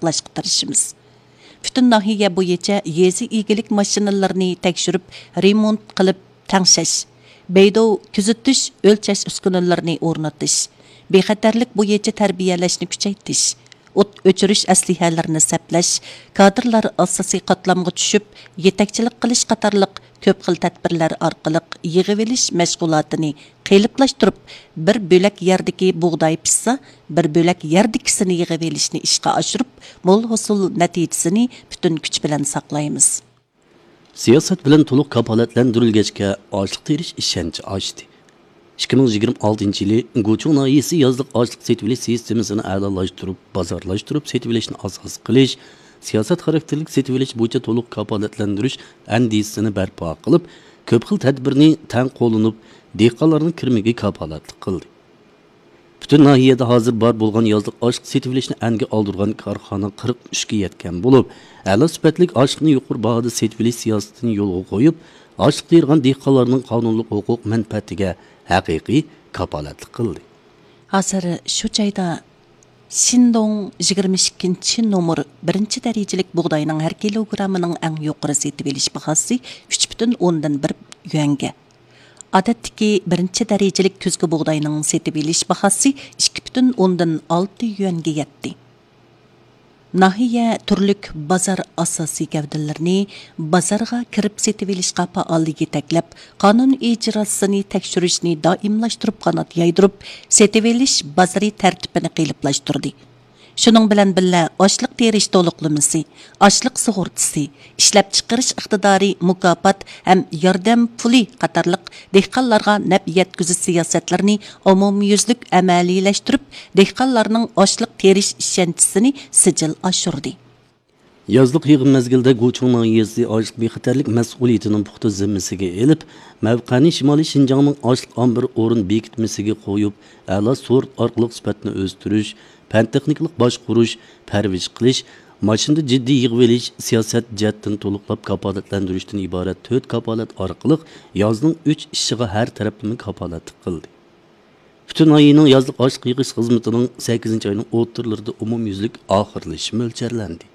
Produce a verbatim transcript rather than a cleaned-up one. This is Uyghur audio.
قىلىشقا تىرىشىمىز. پۈتۈن ناھىيە بويىچە يېزا ئىگىلىك ماشىنىلىرىنى تەكشۈرۈپ، رېمونت قىلىپ تەڭشەش، بەيدوۋ كۆزىتىش، ئۆلچەش ئۈسكۈنىلىرىنى ئورنىتىش، بىخەتەرلىك بويىچە تەربىيەلەشنى كۈچەيتىش، ئوت ئۆچۈرۈش ئەسلىھەلىرىنى سەپلەش، كادىرلار ئاساسىي قاتلامغا چۈشۈپ، يېتەكچىلىك قىلىش قاتارلىق كۆپ خىل تەدبىرلەر ئارقىلىق يىغىۋېلىش مەشغۇلاتىنى قېلىپلاشتۇرۇپ، بىر بۆلەك يەردىكى بۇغداي پىشسا، بىر بۆلەك يەردىكىسىنى يىغىۋېلىشنى ئىشقا ئاشۇرۇپ، مول ھوسۇل نەتىجىسىنى پۈتۈن كۈچ بىلەن ساقلايمىز. سىياسەت بىلەن تولۇق كاپالەتلەندۈرۈلگەچكە، ئاشلىق تېرىش ئىشەنچى ئاشتى. ئىككى مىڭ يىگىرمە ئالتىنچى يىلى گۇچۇڭ ناھىيەسى يازلىق ئاشلىق سېتىۋېلىش سىستېمىسىنى ئەلالاشتۇرۇپ، بازارلاشتۇرۇپ سېتىۋېلىشنى ئاساس قىلىش، سىياسەت خاراكتېرلىك سېتىۋېلىش بويىچە تولۇق كاپالەتلەندۈرۈش ئەندىزىسىنى بەرپا قىلىپ، كۆپ خىل تەدبىرنى تەڭ قوللىنىپ، دېھقانلارنىڭ كىرىمىگە كاپالەتلىك قىلدى. پۈتۈن ناھىيەدە ھازىر بار بولغان يازلىق ئاشلىق سېتىۋېلىشنى ئەنگە ئالدۇرغان كارخانا قىرىق ئۈچكە يەتكەن بولۇپ، ئەلا سۈپەتلىك ئاشلىقنى يۇقىرى باھادا سېتىۋېلىش سىياسىتىنى يولغا قويۇپ، ئاشلىق تېرىغان دېھقانلارنىڭ قانۇنلۇق ھوقۇق مەنپەئەتىگە ھەقىقىي كاپالەتلىك قىلدى. ھازىر شۇ جايدا شىندوڭ يىگىرمە ئىككىنچى نومۇر بىرىنچى دەرىجىلىك بۇغداينىڭ ھەر كىلوگراممىنىڭ ئەڭ يۇقىرى سېتىۋېلىش باھاسى ئۈچ پۈتۈن ئوندىن بىر يۈەنگە، ئادەتتىكى بىرىنچى دەرىجىلىك كۈزگى بۇغداينىڭ سېتىۋېلىش باھاسى ئىككى پۈتۈن ئوندىن ئالتە يۈەنگە يەتتى. ناھىيە تۈرلۈك بازار ئاساسىي گەۋدىلىرىنى بازارغا كىرىپ سېتىۋېلىشقا پائال يېتەكلەپ، قانۇن ئىجراسىنى تەكشۈرۈشنى دائىملاشتۇرۇپ قانات يايدۇرۇپ، سېتىۋېلىش بازىرى تەرتىپىنى قېلىپلاشتۇردى. شۇنىڭ بىلەن بىللە، ئاشلىق تېرىش تولۇقلىمىسى، ئاشلىق سۇغۇرتىسى، ئىشلەپچىقىرىش ئىقتىدارى مۇكاپات ھەم ياردەم پۇلى قاتارلىق دېھقانلارغا نەپ يەتكۈزۈش سىياسەتلىرىنى ئومۇميۈزلۈك ئەمەلىيلەشتۈرۈپ، دېھقانلارنىڭ ئاشلىق تېرىش ئىشەنچىسىنى سىجىل ئاشۇردى. يازلىق يىغىم مەزگىلىدە گۇچۇڭ ناھىيەسى ئاشلىق بىخەتەرلىك مەسئۇلىيىتىنىڭ پۇختا زىممىسىگە ئېلىپ، مەۋقەنى شىمالىي شىنجاڭنىڭ ئاشلىق ئامبىرى ئورۇن بېكىتمىسىگە قويۇپ، ئەلا سورت ئارقىلىق سۈپەتنى ئۆستۈرۈش، پەن تېخنىكىلىق باشقۇرۇش، پەرۋىش قىلىش، ماشىنىدا جىددىي يىغىۋېلىش، سىياسەت جەھەتتىن تولۇقلاپ كاپالەتلەندۈرۈشتىن ئىبارەت تۆت كاپالەت ئارقىلىق يازنىڭ ئۈچ ئىشىغا ھەر تەرەپلىمە كاپالەتلىك قىلدى. پۈتۈن ناھىيەنىڭ يازلىق ئاشلىق يىغىش خىزمىتىنىڭ سەككىزىنچى ئاينىڭ ئوتتۇرىلىرىدا ئومۇميۈزلۈك ئاخىرلىشىشى مۆلچەرلەندى.